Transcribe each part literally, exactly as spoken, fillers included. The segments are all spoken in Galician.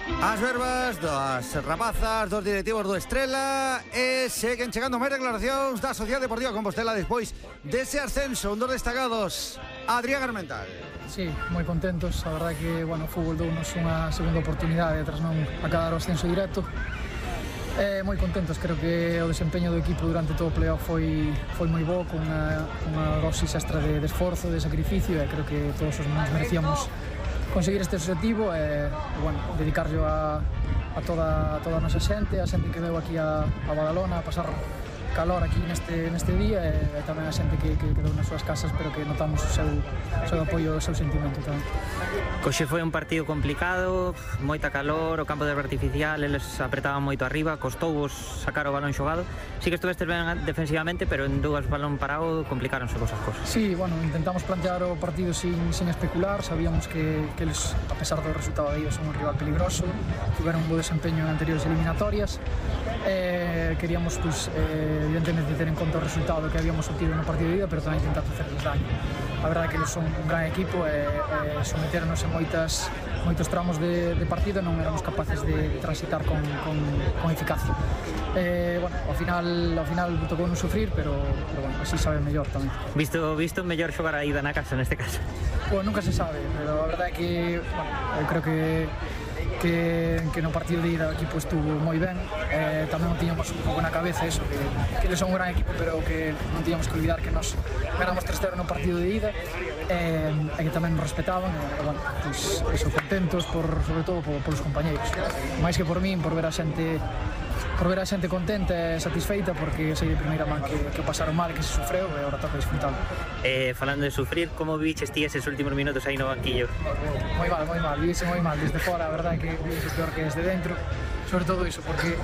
As verbas das rapazas dos directivos do Estrela e seguen chegando máis declaracións da Sociedade Deportiva Compostela despois dese ascenso. Un dos destacados, Adrián Armental. Sí, moi contentos, a verdade que, bueno, o fútbol dounos unha segunda oportunidade tras non acabar o ascenso directo. Eh, moi contentos, creo que o desempeño do equipo durante todo o playoff foi, foi moi bo, con unha, unha dosis extra de, de esforzo, de sacrificio, e creo que todos os nos merecíamos conseguir este objetivo e, bueno, dedicarlo a, a, toda, a toda a nosa xente, a xente que veu aquí a, a Badalona a pasar calor aquí neste, neste día e, e tamén a xente que, que quedou nas súas casas, pero que notamos o seu, o seu apoio, o seu sentimento tamén. Coxe foi un partido complicado, moita calor, o campo de erva artificial, eles apretaban moito arriba, costouvos sacar o balón xogado. Sí que estuvestes ben defensivamente, pero en dúas balón parado complicaronse vosas cosas. Sí, bueno, intentamos plantear o partido sin, sin especular, sabíamos que, que eles, a pesar do resultado de ellos, son un rival peligroso, tiveron un bo desempeño en anteriores eliminatorias, eh, queríamos, pues, eh, evidentemente ter en conta o resultado que habíamos obtido no partido de ida, pero tamén intentar facerles daño. A verdade é que eles son un gran equipo e, e someternos en moitas, moitos tramos de, de partido non éramos capaces de transitar con, con, con eficacia. Eh, bueno, ao final, ao final tocou non sufrir, pero, pero bueno, así sabe mellor tamén. Visto, visto mellor xogar a ida na casa neste caso? Bueno, nunca se sabe, pero a verdade é que, bueno, eu creo que Que, que no partido de ida o equipo estuvo moi ben, eh, tamén non tiñamos un pouco na cabeza eso, que, que eles son un gran equipo, pero que non tiñamos que olvidar que nos ganamos tres cero no partido de ida, eh, e que tamén nos respetaban, e, bueno, pues, eso, contentos por, sobre todo por, por os compañeiros, máis que por min, por ver a xente por ver a xente contenta e satisfeita, porque sei de primeira man que, que pasaron mal, que se sufreu, e agora toca disfrutar. Eh, falando de sufrir, como viches ti eses últimos minutos aí no banquillo? Moi mal, moi mal, vixe moi mal desde fora, a verdade é que vixe peor que desde dentro, sobre todo iso, porque,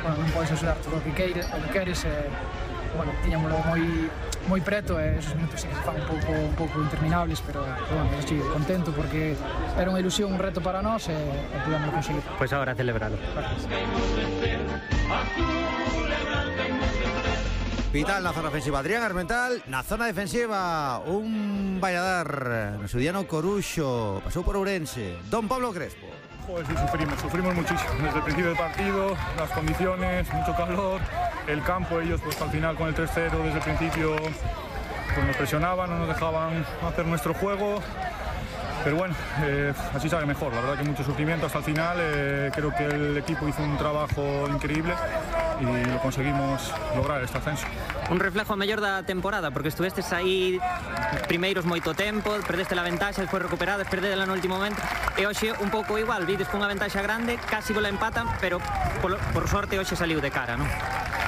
bueno, non podes axudar todo o que queires, o que queres, e, bueno, tiñamolo moi moi preto, e esos minutos sí que se fan un pouco, un pouco interminables, pero, pero bueno, estoy contento porque era unha ilusión, un reto para nós, e, e pudemos conseguir. Pois pues agora celebralo. Gracias. Vital na zona ofensiva Adrián Armental, na zona defensiva un Valladar no seu día no Coruxo, pasou por Ourense, Don Pablo Crespo. Joder, sí, sufrimos, sufrimos muchísimo desde el principio del partido, las condiciones, mucho calor, el campo, ellos pues al final con el tres cero desde el principio pues nos presionaban, no nos dejaban hacer nuestro juego. Pero bueno, eh, así sabe mejor, la verdad que mucho sufrimiento hasta el final, eh, creo que el equipo hizo un trabajo increíble y lo conseguimos lograr este ascenso. Un reflejo mellor da temporada, porque estuvestes aí primeiros moito tempo, perdeste a ventaxa, despois recuperades, perdedela no último momento, e hoxe un pouco igual, vides con unha ventaxa grande, casi vos la empatan, pero por, por sorte hoxe saliu de cara, non?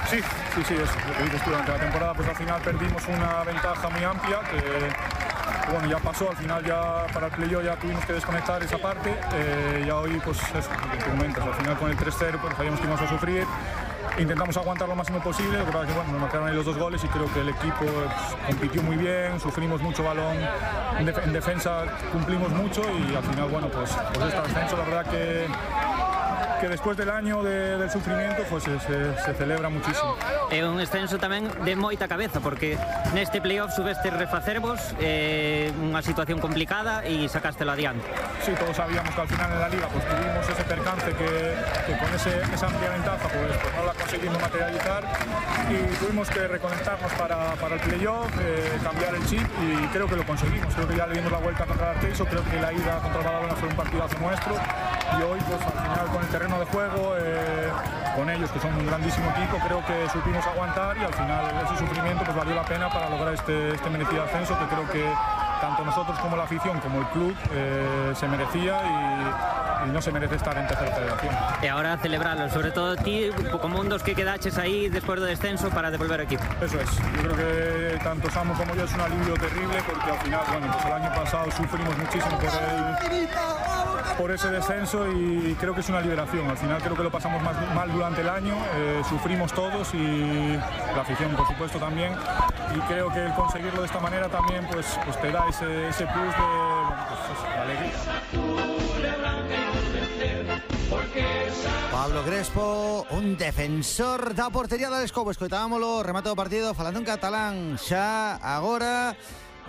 Sí, sí, sí, es lo que dices tú, durante la temporada pues al final perdimos una ventaja muy amplia que bueno, ya pasó, al final ya para el playoff ya tuvimos que desconectar esa parte, eh, ya hoy pues eso, lo que comentas, al final con el tres cero pues sabíamos que íbamos a sufrir, intentamos aguantar lo máximo posible, lo que pasa es que bueno, nos marcaron ahí los dos goles y creo que el equipo pues, compitió muy bien, sufrimos mucho balón, en, def en defensa cumplimos mucho y al final bueno, pues, pues este ascenso la verdad que que después del año de, del sufrimiento pues se, se, se celebra muchísimo. É un ascenso tamén de moita cabeza, porque neste playoff subeste refacervos, eh, unha situación complicada e sacástelo adiante. Sí, todos sabíamos que al final en la liga pues tuvimos ese percance que, que con ese, esa amplia ventaja pues, pues no la conseguimos materializar y tuvimos que reconectarnos para, para el playoff, eh, cambiar el chip y creo que lo conseguimos. Creo que ya le dimos la vuelta contra el Arteiso, creo que la ida contra el Badalona fue un partidazo nuestro y hoy pues al final con el terreno de juego, eh, con ellos que son un grandísimo equipo, creo que supimos aguantar y al final ese sufrimiento pues valió la pena para lograr este, este merecido ascenso que creo que tanto nosotros como la afición como el club eh, se merecía y, y no se merece estar en tercera federación. E ahora celebrarlo, sobre todo ti como un dos que quedaches aí despois do descenso para devolver o equipo. Eso es, yo creo que tanto Samu como yo es un alivio terrible porque al final, bueno, pues el año pasado sufrimos muchísimo por el por ese descenso y creo que es una liberación. Al final creo que lo pasamos más mal durante el año, eh, sufrimos todos y la afición por supuesto también y creo que el conseguirlo de esta manera también pues, pues te da ese, ese plus de, bueno, pues, de alegría. Pablo Crespo, un defensor da portería da Escobo. Escoitámoslo, remate do partido falando en catalán xa agora.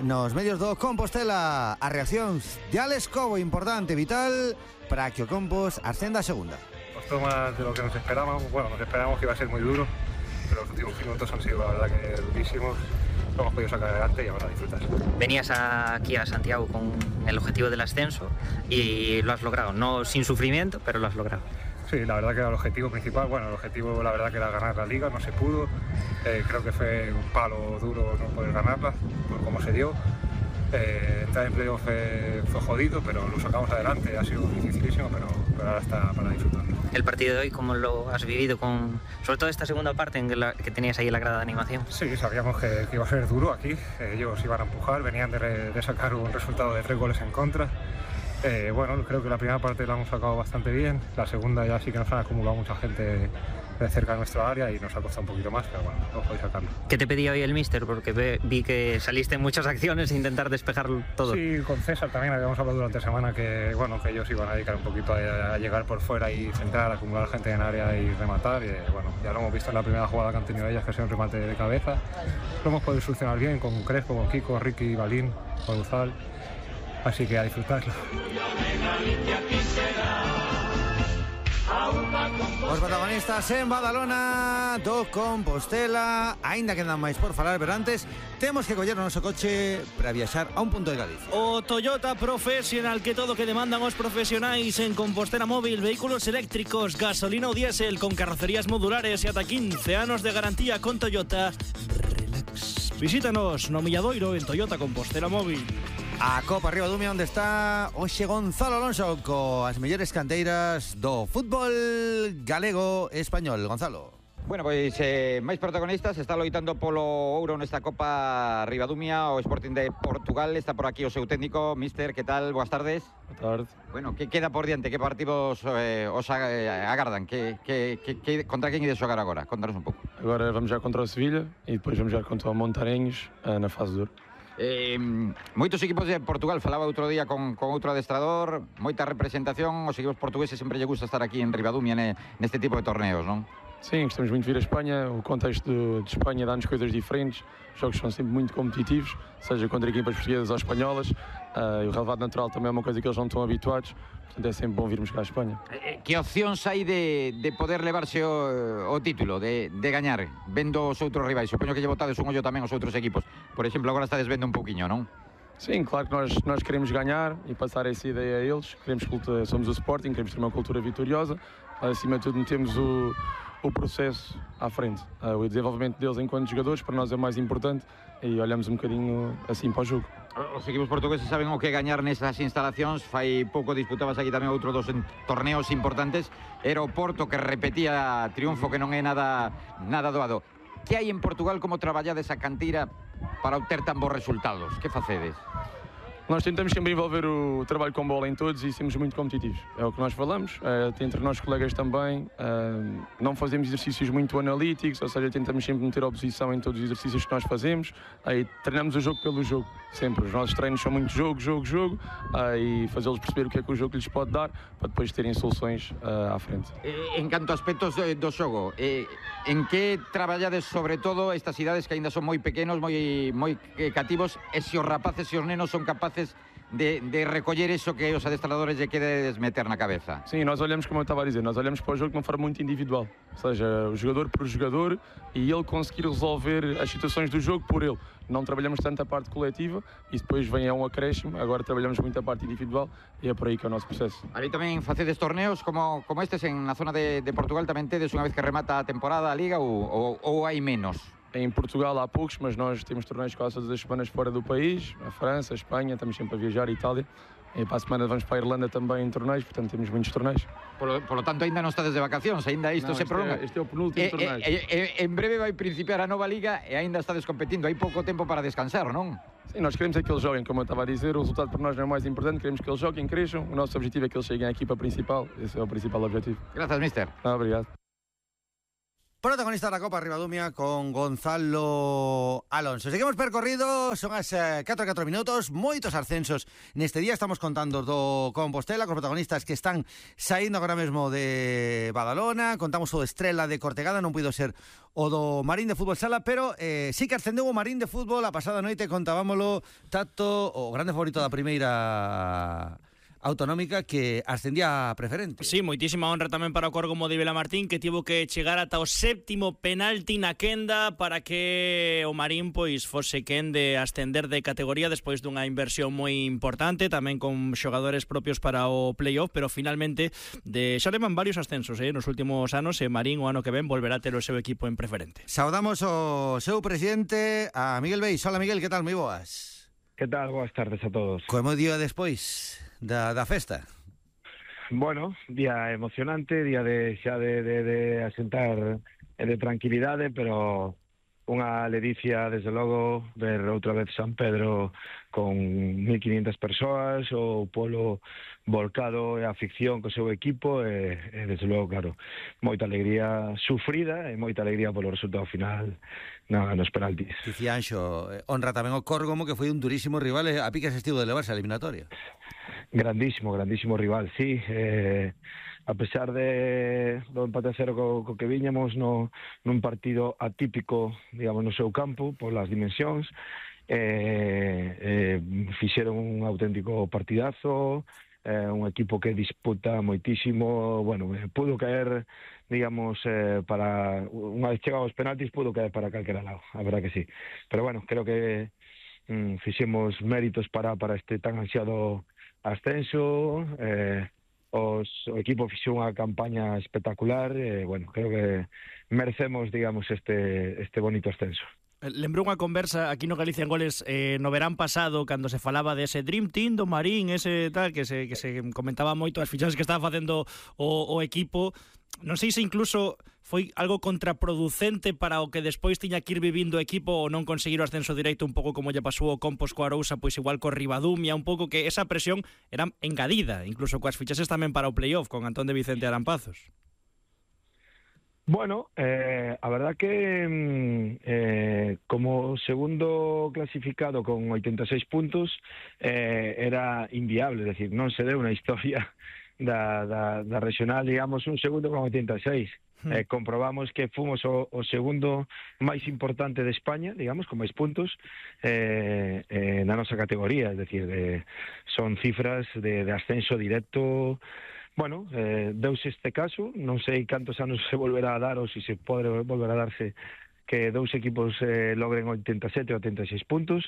nos medios do Compostela. As reaccións de Alex Cobo, importante, vital, para que o Compos ascenda a segunda. Costó más de lo que nos esperábamos. Bueno, nos esperábamos que iba a ser muy duro, pero los últimos minutos han sido, la verdad, que durísimos. Lo hemos podido sacar adelante y ahora disfrutar. Venías aquí a Santiago con el objetivo del ascenso y lo has logrado, no sin sufrimiento, pero lo has logrado. Sí, la verdad que era el objetivo principal. Bueno, el objetivo la verdad que era ganar la liga, no se pudo. Eh, creo que fue un palo duro no poder ganarla, por cómo se dio. Eh, entrar en playoff fue, fue jodido, pero lo sacamos adelante. Ha sido dificilísimo, pero, pero ahora está para disfrutarlo. El partido de hoy, ¿cómo lo has vivido? Con, sobre todo esta segunda parte en que, la, que tenías ahí la grada de animación. Sí, sabíamos que, que iba a ser duro aquí. Eh, ellos iban a empujar, venían de, re, de sacar un resultado de tres goles en contra. Eh, bueno, creo que la primera parte la hemos sacado bastante bien, la segunda ya sí que nos han acumulado mucha gente de cerca de nuestra área y nos ha costado un poquito más, pero bueno, hemos podido sacarlo. ¿Qué te pedía hoy el míster? Porque ve, vi que saliste en muchas acciones e intentar despejar todo. Sí, con César también habíamos hablado durante la semana que, bueno, que ellos iban a dedicar un poquito a, a llegar por fuera y centrar, acumular gente en área y rematar. Y, bueno, ya lo hemos visto en la primera jugada que han tenido ellas, que ha sido un remate de cabeza. Lo hemos podido solucionar bien con Crespo, con Kiko, Ricky, Balín, con Uzal. Así que a disfrutarlo. Os protagonistas en Badalona do Compostela. Aínda quedan máis por falar, pero antes temos que coller o noso coche para viaxar a un punto de Galicia. O Toyota Professional, que todo que demandan os profesionais en Compostela Móvil. Vehículos eléctricos, gasolina ou diésel, con carrocerías modulares e ata quince anos de garantía con Toyota. Relax. Visítanos no Milladoiro en Toyota Compostela Móvil. A Copa Ribadumia, onde está hoxe Gonzalo Alonso coas mellores canteiras do fútbol galego e español. Gonzalo. Bueno, pois eh, máis protagonistas. Está loitando polo ouro nesta Copa Ribadumia o Sporting de Portugal. Está por aquí o seu técnico, Mister, que tal? Boas tardes. Boa tarde. Bueno, que queda por diante? Que partidos eh, os agardan? Que, que, que, que, contra quen ides xogar agora? Contanos un pouco. Agora vamos jogar contra o Sevilha e depois vamos jogar contra o Montarenhos na fase dura. Eh, moitos equipos de Portugal, falaba outro día con, con outro adestrador, moita representación, os equipos portugueses sempre lle gusta estar aquí en Ribadumia ne, neste tipo de torneos, non? Sim, gostamos muito de vir a Espanha, o contexto de, de Espanha dá-nos coisas diferentes, os jogos são sempre muito competitivos, seja contra equipas portuguesas ou espanholas, uh, e o relevado natural também é uma coisa que eles não estão habituados, portanto é sempre bom virmos cá a Espanha. Que opcións hai de, de poder levarse o, o título, de, de gañar, vendo os outros rivais? Supoño que lle botades un ollo tamén aos outros equipos, por exemplo, agora estades vendo un pouquiño, non? Sim, claro que nós, nós queremos ganhar e passar essa ideia a eles, queremos cultura, somos o Sporting, queremos ter uma cultura vitoriosa, acima de tudo metemos o o processo à frente. Uh, o desenvolvimento deles enquanto jogadores para nós é mais importante e olhamos um bocadinho assim para o jogo. Os equipos portugueses saben o que gañar nesas instalacións. Fai pouco disputabas aquí tamén outro dos torneos importantes. Era o Porto, que repetía triunfo que non é nada, nada doado. Que hai en Portugal, como traballades a canteira para obter tan bons resultados? Que facedes? Nós tentamos sempre envolver o trabalho com bola em todos e sermos muito competitivos. É o que nós falamos, é, entre nós colegas também. É, não fazemos exercícios muito analíticos, ou seja, tentamos sempre meter a oposição em todos os exercícios que nós fazemos. Aí treinamos o jogo pelo jogo, sempre. Os nossos treinos são muito jogo, jogo, jogo, aí fazê-los perceber o que é que o jogo lhes pode dar para depois terem soluções uh, à frente. En canto a aspectos do xogo, eh, en que traballades sobre todo estas cidades que ainda son moi pequenos, moi, moi cativos, e se os rapaces e os nenos son capaces De, de recoller eso que os adestradores lle quedes meter na cabeza? Sim, nós olhamos, como eu estava a dizer, nós olhamos para o jogo de uma forma muito individual, ou seja, o jogador por jogador e ele conseguir resolver as situações do jogo por ele. Não trabalhamos tanto a parte coletiva e depois vem a um acréscimo, agora trabalhamos muito a parte individual e é por aí que é o nosso processo. Ali tamén facedes torneos como, como estes en na zona de, de Portugal, tamén tedes unha vez que remata a temporada a Liga ou, ou, ou hai menos? Em Portugal há poucos, mas nós temos torneios quase todas as semanas fora do país, a França, a Espanha, estamos sempre a viajar, a Itália. E para a semana vamos para a Irlanda também em torneios, portanto temos muitos torneios. Por, por lo tanto, ainda non estades de vacacións, ainda isto non, se prolonga. É, este é o penúltimo e, torneio. E, e, en breve vai principiar a nova Liga e ainda estades competindo, hai pouco tempo para descansar, non? Sim, nós queremos é que eles joguem, como eu estava a dizer, o resultado para nós não é o mais importante, queremos que eles joguem, cresçam, o nosso objetivo é que eles cheguem à equipa principal, esse é o principal objetivo. Graças, mister. Ah, obrigado. Protagonista da Copa Ribadumia con Gonzalo Alonso. Seguimos percorrido, son as eh, catro e catro minutos, moitos ascensos neste día. Estamos contando do Compostela, con protagonistas que están saindo agora mesmo de Badalona. Contamos o Estrela de Cortegada, non puido ser o do Marín de Fútbol Sala, pero eh, sí que ascendeu o Marín de Fútbol a pasada noite. Contábamolo, Tato, o grande favorito da primeira autonómica, que ascendía a preferente. Sí, moitísima honra tamén para o Córgomo de Vilamartín, que tivo que chegar ata o séptimo penalti na quenda para que o Marín pois fose quen de ascender de categoría despois dunha inversión moi importante, tamén con xogadores propios para o playoff, pero finalmente de xa levan varios ascensos eh, nos últimos anos, e Marín o ano que ven volverá a ter o seu equipo en preferente. Saudamos o seu presidente, a Miguel Beis. Hola, Miguel, que tal? Moi boas. Que tal? Boas tardes a todos. Como día despois da, da festa? Bueno, día emocionante, día de xa de, de, de asentar e de tranquilidade, pero unha ledicia, desde logo, ver outra vez San Pedro con mil quinientas persoas, o polo volcado e a afición co seu equipo, e, e desde logo, claro, moita alegría sufrida e moita alegría polo resultado final na, nos penaltis. Dicía Anxo, honra tamén o Córgomo, que foi un durísimo rival, e a piques estivo de levarse a eliminatoria. Grandísimo, grandísimo rival, sí. Eh, a pesar de do empate a cero co, co que viñamos no, nun partido atípico, digamos, no seu campo, polas dimensións, eh, eh, fixeron un auténtico partidazo, eh, un equipo que disputa moitísimo, bueno, eh, pudo caer, digamos, eh, para unha vez chegados aos penaltis, pudo caer para calquera lado, a verdad que sí. Pero bueno, creo que mm, fixemos méritos para, para este tan ansiado ascenso, eh, os, o equipo fixou unha campaña espectacular, e, eh, bueno, creo que merecemos, digamos, este, este bonito ascenso. Lembro unha conversa aquí no Galicia en Goles eh, no verán pasado, cando se falaba dese Dream Team do Marín, ese tal, que se, que se comentaba moito as fichaxes que estaba facendo o, o equipo. Non sei se incluso foi algo contraproducente para o que despois tiña que ir vivindo o equipo, ou non conseguir o ascenso directo, un pouco como lle pasou o Compos coa Arousa, pois igual co Ribadumia, un pouco que esa presión era engadida, incluso coas fichaxes tamén para o playoff, con Antón de Vicente Arampazos. Bueno, eh, a verdad que eh, como segundo clasificado con oitenta e seis puntos eh, era inviable, es decir, non se deu unha historia da, da, da regional, digamos, un segundo con oitenta e seis. Eh, comprobamos que fomos o, o segundo máis importante de España, digamos, con máis puntos eh, eh, na nosa categoría, es decir, eh, son cifras de, de ascenso directo. Bueno, eh, deuse este caso, non sei cantos anos se volverá a dar ou se se pode volver a darse que dous equipos eh, logren oitenta e sete ou oitenta e seis puntos,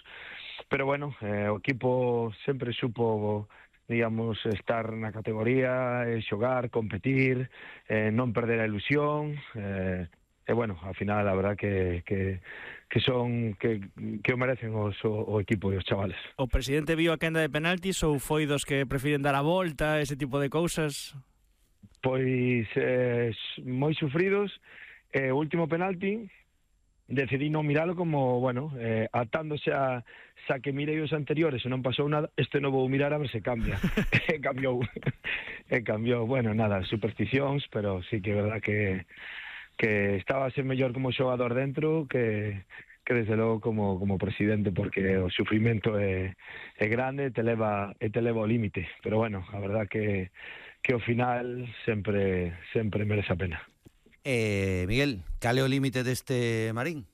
pero bueno, eh, o equipo sempre supo, digamos, estar na categoría, eh, xogar, competir, eh, non perder a ilusión, eh, e bueno, ao final a verdad que, que, que son que, que o merecen os, o, o equipo e os chavales. O presidente viu a quenda de penaltis ou foi dos que prefiren dar a volta, ese tipo de cousas? Pois eh, moi sufridos. Eh, o último penalti decidí non miralo, como, bueno, eh, atándose a xa que mirei os anteriores e non pasou nada, este non vou mirar a ver se cambia. E cambiou. E cambiou, bueno, nada, supersticións, pero sí que é verdad que que estaba a ser mellor como xogador dentro que, que desde logo como, como presidente, porque o sufrimento é, é grande, te leva, e te leva ao límite, pero bueno, a verdad que, que ao final sempre, sempre merece a pena. Eh, Miguel, cal é o límite deste Marín?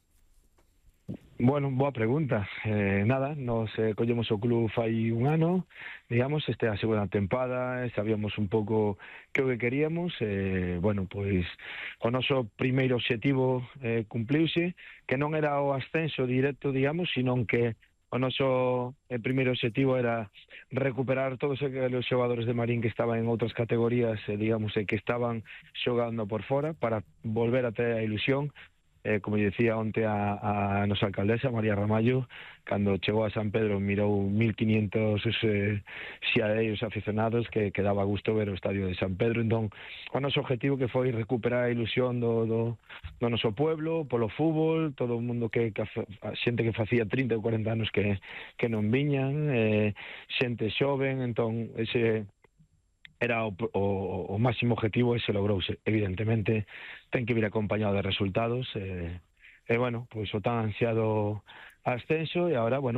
Bueno, boa pregunta. Eh, nada, nos eh, collemos o club fai un ano, digamos, este é a segunda tempada, eh, sabíamos un pouco que o que queríamos, eh, bueno, pois o noso primeiro obxectivo eh, cumpliuse, que non era o ascenso directo, digamos, sino que o noso eh, primeiro obxectivo era recuperar todos os xogadores de Marín que estaban en outras categorías, eh, digamos, e que estaban xogando por fora, para volver a ter a ilusión. Eh, como dicía onte a, a nosa alcaldesa, María Ramallo, cando chegou a San Pedro mirou mil quinientos eh, xiadeiros aficionados, que, que daba gusto ver o estadio de San Pedro. Entón, o noso objetivo que foi recuperar a ilusión do, do, do noso pueblo, polo fútbol, todo o mundo que, que a xente que facía trinta ou cuarenta anos que, que non viñan, eh, xente xoven, entón ese era o, o, o máximo objetivo e se logrouse. Evidentemente ten que vir acompañado de resultados e, e bueno, pois o tan ansiado ascenso e agora, bueno,